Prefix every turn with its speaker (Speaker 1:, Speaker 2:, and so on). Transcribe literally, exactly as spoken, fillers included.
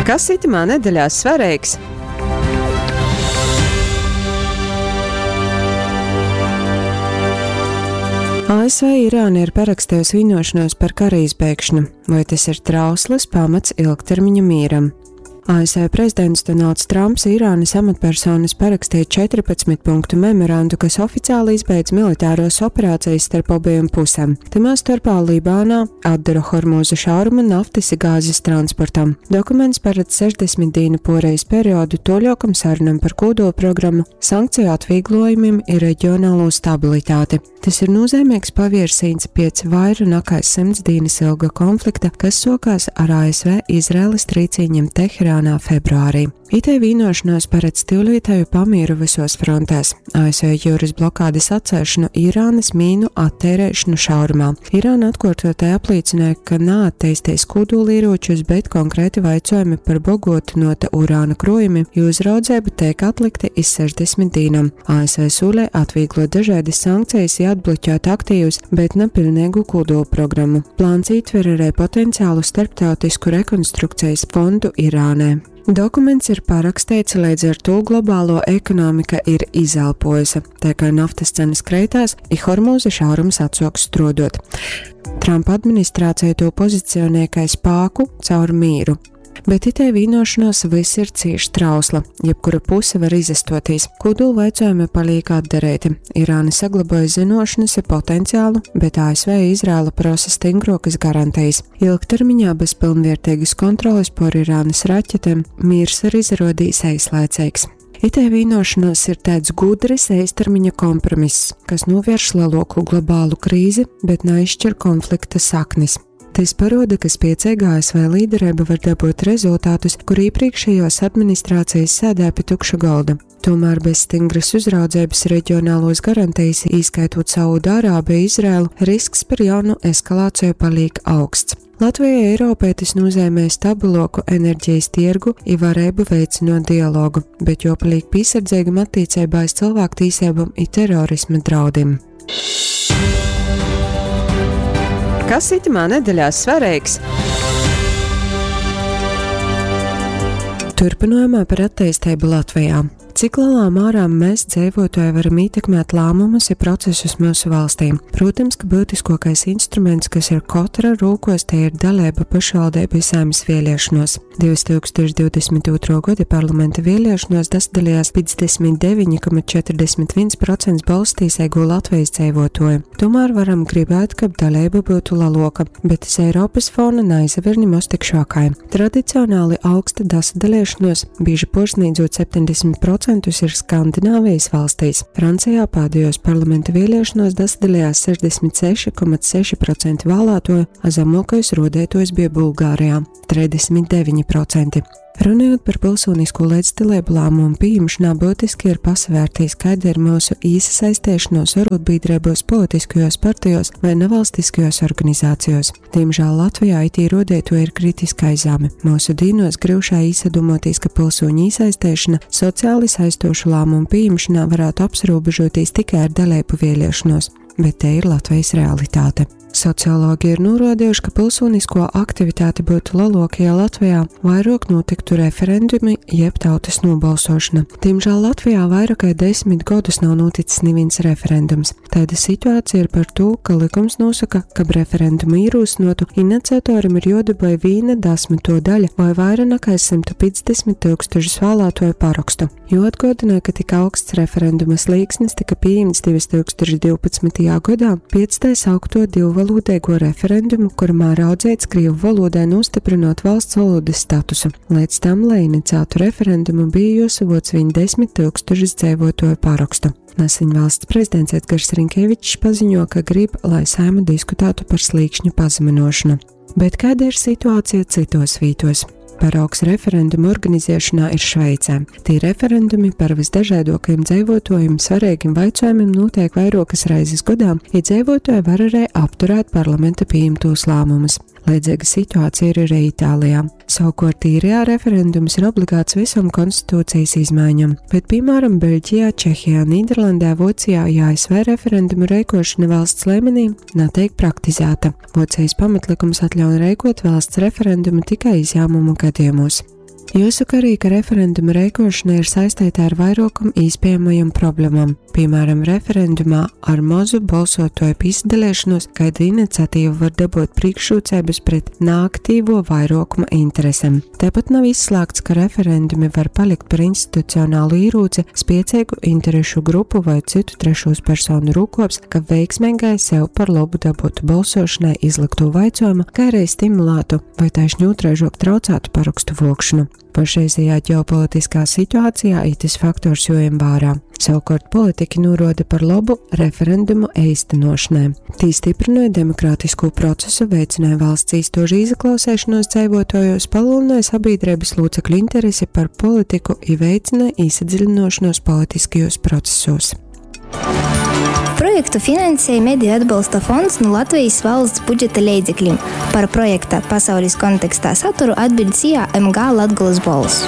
Speaker 1: Kas itymā nedeļā svareigs? A S V Irāna ir parakstējusi vienošanos par kara izbeigšanu. Vai tas ir trausls pamats ilgtermiņa mieram? A S V prezidents Donalds Trumps Irānas amatpersonas parakstīja četrpadsmit punktu memorandu, kas oficiāli izbeidz militāros operācijas starp abiem pusēm. Tamā starpā Libānā atdara Hormūza šauruma naftas i gāzes transportam. Dokuments paredz sešdesmit dienu porejas periodu toļokam sarunam par kodolprogrammu, sankciju atvieglojumiem i reģionālo stabilitāti. Tas ir nozīmīgs paviersīns piec vaira nekā simts dienas ilga konflikta, kas sokās ar A S V Izraēlas trīcīņiem Teherānā februārī. Itei vienošanos paredz tīvlītēju pamieru visos frontēs. A S V jūras blokādes atcelšanu, Irānas mīnu attērēšanu šaurumā. Irāna atkārtotai apliecināja, ka neattīstīs kodolieročus, bet konkrēti vaicojumi par bogotinota urāna krojumi, jo uzraudzība tiek atlikti iz sešdesmit dienām. A S V solē atvieglot dažādas sankcijas i atbloķēt aktīvus, bet ne pilnīgu kodolprogrammu. Plāns ietver arī potenciālu starptautisku rekonstrukcijas fondu Irānai. Dokuments ir parakstīts, līdz ar to globālo ekonomika ir izelpojusi, tā kā naftas cenas kreitās, i Hormūza šaurums atsoks strodot. Trumpa administrācija to pozicionē kā spāku caur mīru. Bet itei vienošanās viss ir cieši trausla, jebkura puse var izastotīs. Kodolu vaicojumi paliek atdarēti. Irāna saglaboja zinošanas i potenciālu, bet A S V Izraela prasa stingrokas garantijas. Ilgtermiņā bez pilnvērtīgas kontroles pār Irānas raķetēm miers ir izrodījis aizlaicīgs. Itei vienošanās ir tāds gudrs īstermiņa kompromiss, kas novērš lielāku globālu krīzi, bet neizšķir konflikta saknis. Tas paroda, ka spēcīga A S V līderība var dabūt rezultātus, kur iepriekšējos administrācijas sēdē pie tukša galda. Tomēr bez stingras uzraudzības reģionālos garantijas, īskaitot Saudārābiju, Izraelu, risks par jaunu eskalāciju paliek augsts. Latvijai Eiropai tas nozīmē stabiloku enerģijas tirgu i varēbu veicinot dialogu, bet jopaliek piesardzīgam attiecībā uz cilvēktiesībām i terorisma draudiem.
Speaker 2: Kas itamā nedēļā svarīgs?
Speaker 1: Turpinājumā par attīstību Latvijā. Cik lielā mērā mēs dzīvotāji varam ietekmēt lēmumus i procesus mūsu valstī? Protams, ka būtiskākais instruments, kas ir katra rūkos, te ir dalība pašvaldību saeimas vēlēšanos. divtūkstoš divdesmit otro gada parlamenta vēlēšanos dasadalījās piecdesmit deviņi koma četrdesmit viens procents balstīsēgo Latvijas dzīvotoju. Tomēr varam gribēt, kab dalība būtu lielāka, bet iz Eiropas fona naizaver nemaz tik šākai. Tradicionāli augsta dasadalīšanos, bieži pārsniedzot septiņdesmit procentus ir Skandināvijas valstīs. Francijā pēdējos parlamenta vēlēšanos dasadalījās sešdesmit seši koma seši procenti vēlētoju, a zemākais rodētojs bija Bulgārijā – trīsdesmit deviņi procenti. Runājot par pilsonisko līdzdalību lēmumu pieņemšanā, būtiski ir pasvērtīs, kāda ir mūsu iesaistīšanos arotbiedrībos, politiskajos partijos vai nevalstiskajos organizācijos. Diemžēl Latvijā it rodēto ir kritiskai zemi. Mūsu dīnos grūšā īsadomotīs, ka pilsoņu iesaistīšana sociāli saistošu lēmumu pieņemšanā varētu apsrobežoties tikai ar dalību vēlēšanos, bet te ir Latvijas realitāte. Sociologi ir norādījuši, ka pilsonisko aktivitāte būtu lielāka, ja Latvijā vairāk notiktu referendumi jeb tautas nobalsošana. Diemžēl Latvijā vairāk kā desmit gadus nav noticis neviens referendums. Tāda situācija ir par to, ka likums nosaka, ka referendumu ierosinotu iniciatoram ir jodabūj viena desmito daļa vai vairāk nekā simtu piecdesmit tūkstošus vēlētoju parakstu. Jo atgādināja, ka tik augsts referenduma slīksnis tika pieņemts divtūkstoš divpadsmitajā gadā pēc tā saukto divvalodīgo referendumu, kurmā raudzīts krievu valodai nostiprinot valsts valodas statusu. Līdz tam, lai iniciētu referendumu, bija jāsavoc viņ desmit tūkstošus dzīvotoju parakstu. Nesen valsts prezidents Edgars Rinkēvičs paziņo, ka grib, lai Saeima diskutētu par slīkšņu pazeminošanu. Bet kāda ir situācija citos vītos? Paraugs referendumu organizēšanā ir Šveicē. Tie referendumi par visdažādākajiem dzīvotājiem svarīgiem jautājumiem notiek vairākas reizes gadā, ja dzīvotāji var arī apturēt parlamenta pieņemtos lēmumus. Līdzīga situācija ir arī Itālijā. Savukārt Īrijā referendums ir obligāts visam konstitūcijas izmaiņam, bet, piemēram, Beļģijā, Čehijā, Nīderlandē, Vācijā ja A S V referendumu reikošana valsts līmenī netiek praktizēta. Vācijas pamatlikums atļauj reikot valsts referendumu tikai izņēmumu gadījumos. Juosoka arī, ka referenduma reikošana ir saisteita ar vairuokom īspiejamajom problemom. Pīmāram, referendumā ar mozu bolsuotuoju pīsadaleišonūs kaida iniciatīva var dabuot prīškrūceibys pret naaktīvuo vairuokuma interesem. Taipat nav izslāgts, ka referendumi var palikt par institucionālu īrūci spieceigu interešu grupu voi cytu trešūs personu rūkops, ka veiksmeigai sev par lobu dabuotu bolsuošanai izlyktū vaicuojumu, kai arī stimulātu voi taišni ūtraižuok traucātu parokstu vuokšonu. Pašreizējā ģeopolitiskā situācijā itys faktors juojem vārā. Savukārt politiki nūruoda par lobu referendumu eistynuošanai. Tī styprynuoja demokratiskū procesu, veicināja valsts īstuožu izaklauseišonuos dzeivuotuojūs, palielināja sabīdreibys lūcekļu interesi par politiku i veicināja īsadziļinuošonuos politiskajos procesos.
Speaker 3: Projektu finansēja Mediju atbalsta fonds nu Latvejis valsts budžeta leidzeklim. Par projekta Pasaulis kontekstā saturu atbiļd SIA M G Latgolys Bolss.